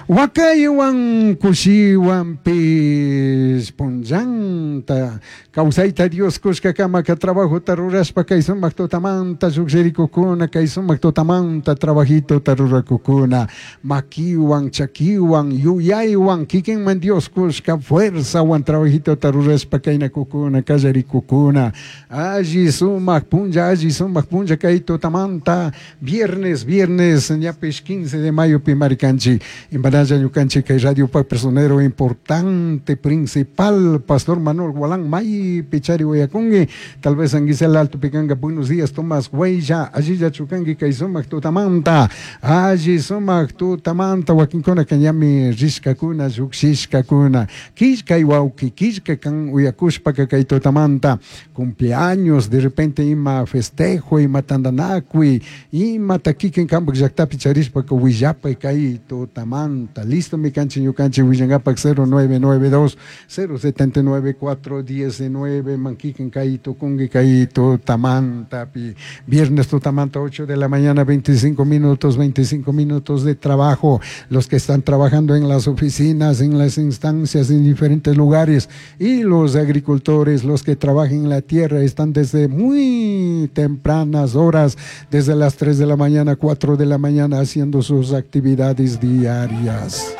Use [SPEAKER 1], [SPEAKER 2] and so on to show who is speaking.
[SPEAKER 1] Huacayhuan cushihuanpish punllanta causaita Dios cushcacamaca trabajota rurashpa kay sumak tutamanta llukshirikukuna, kay sumak tutamanta trabajitota rurakukuna, makiwan, chakiwan, yuyaywan, kikinman Dios kushka fuerzawan trabajitota rurashpa kaynakukuna, kallarikukuna. Alli sumak punlla, alli sumak punlla kay tutamanta, viernes, viernes, ñapish 15 de mayo pi marikanchik. Impanalla ñukanchik kay radiopak personero importante, principal, Pastor Manuel Gualán, maypi chari uyakunki, tal vez Anguisela Alto pikanka. Buenos días, Tomás Guaylla, allilla chukanki kay sumak tutamanta, alli sumak tutamanta. Wakinkunaka ñami rishkakuna, llukshishkakuna. Killkay wawki, killka kan uyakushpaka kay tutamanta, cumpleaños, de repente ima festejo, ima tandanakuy, imata kikin kanpak llaktapi charishpaka willapay kay tutamanta. Listo mi kanchik ñukanchik willankapak 0992 079 419 man kikin kay tukunki kay tutamantapi. Viernes tutamanta, 8 de la mañana, 25 minutos, 25 minutos de trabajo. Los que están trabajando en las oficinas, en las instancias, en diferentes lugares, y los agricultores, los que trabajan en la tierra, están desde muy tempranas horas, desde las 3 de la mañana, 4 de la mañana, haciendo sus actividades diarias.